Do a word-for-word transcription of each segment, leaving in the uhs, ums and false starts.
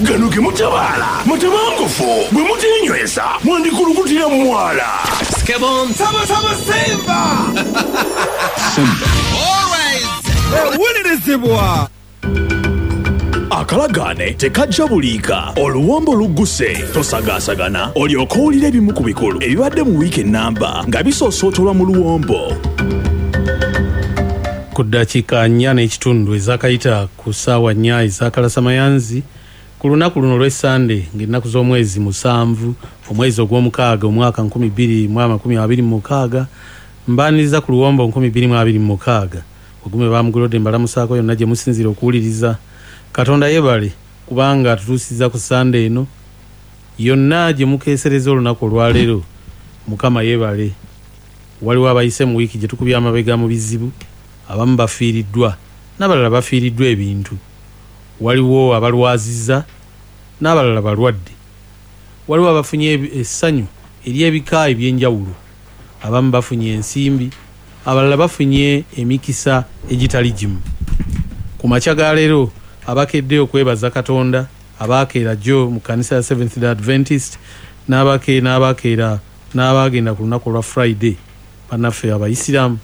Gano ge mutabaala mutabangufu, bwe mutenyweza mwandikulukutira mu mwala. Skebon. Saba saba Simba. Simba. Always. Ewulirizibwa. Akalagaane tekajja buliika, oluwombo lugguse, tosagaasagana, olyoke owulire ebimu ku bikulu ebibadde mu wiiki ennamba nga bisoosootolwa mu luwombo. Ku ddakiika nnya n'ekitundu ezaakayita ku ssaawa nnya ez'akalasamayanzi ku lunaku luno olw'Essande ng'ennaku z'omwezi musanvu omwezi ogw'omukaaga omwaka nkumi bbiri mu amakumi abiri mu mukaaga, mbaaniriza ku luwombo nkumi bbiri mu abiri mu mukaaga. Ogume bamugolodde mbalamusaako yonna gye musinziira okuwuliriza. Katonda yeebale kubanga atutuusizza ku Ssande eno yonna gye mukeesereza olunaku olwaleero. Mukama yeebale. Waliwo abayise mu wiiki gye tukubye amabega mu bizibu, abamu bafiiriddwa n'abalala bafiiriddwa ebintu, waliwo abalwazizza n'abalala balwadde, waliwo abafunye essanyu ery'ebika eby'enjawulo, abamu bafunye ensimbi, abalala bafunye emikisa egitali gimu. Ku makya ga leero abakedde okwebaza Katonda, abakeera jjo mu kkanisa ya Seventh Day Adventist n'abake n'abakeera n'abagenda ku lunaku olwa Friday, bannaffe Abayisiraamu,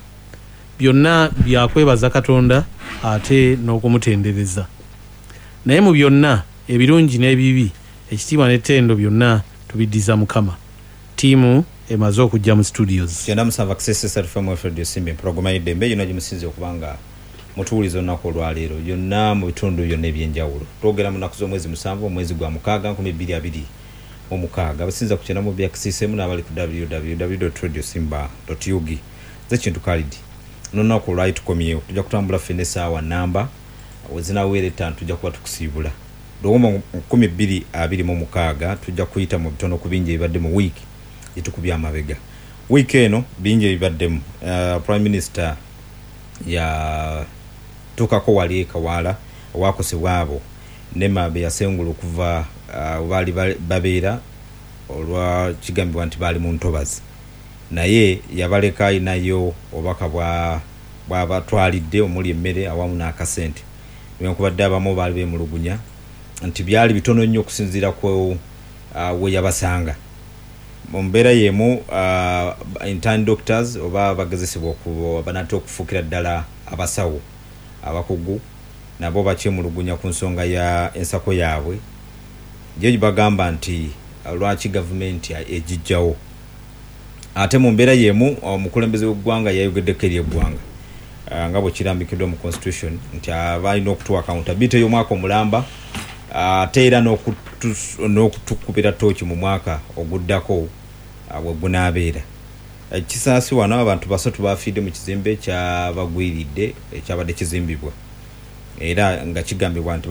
byonna byakwebaza Katonda ate n'okumutendereza. Naye mu byonna ebirungi n'ebibi, ekitiibwa n'ettendo byonna tubiddiza Mukama. Ttiimu emaze okujja mu studios. Kyenda musanvu Access F M Radio Simba, empologoma y'eddembe yonna gye musinze okubanga mutuwuliza olunaku olwaleero yonna mu bitundu byonna ebyenjawulo. Twogera mu nnaku z'omwezi musanvu omwezi gwa mukaaga nkumi bbiri abiri mu mukaaga. Abasinza ku kyenda mu bya Access M n'abali ku w w w dot radio simba dot u g. Nze Kintu Khalid. N'olunaku olwali tukomyewo, tujja kutambula ffenna essaawa nnamba we zinaaweera ettaano tujja kuba tukusiibula. Luwombo nkumi bbiri abiri mu mukaaga tujja kuyita mu bitono ku bingi ebibadde mu wiiki gye tukubye amabega. Wiiki eno bingi ebibaddemu. Uh, Prime Minister yatuukako wali e Kawaala owakosebwa abo Nema be yasengula okuva uh, baali babeera olwa kigambibwa nti baali mu ntobazi, naye yabaleka ayinayo obubaka bwabatwalidde omuli emmere awamu n'akasente. Newankubadde abamu baali beemulugunya nti byali bitono nnyo okusinziira ku uh, we yabasanga. Mu mbeera y'emu uh, intern doctors oba bagezesebwa banatera okufuukira ddala abasawo abakugu nabo bakyemulugunya ku nsonga ya ensako yaabwe gye bagamba nti lwaki gavumenti egijjawo. Ate mu mbeera y'emu omukulembeze w'eggwanga yayogeddeko eri eggwanga nga bwe kirambikiddwa mu constitution nti abalina okutuwa accountability y'omwaka omulamba ate era n'okutukubira ttooki mu mwaka oguddako bwe gunaabeera. Kisaasi wano abantu basatu bafiiridde mu kizimbe kyabagwiridde ekyabadde kizimbibwa era nga kigambibwa nti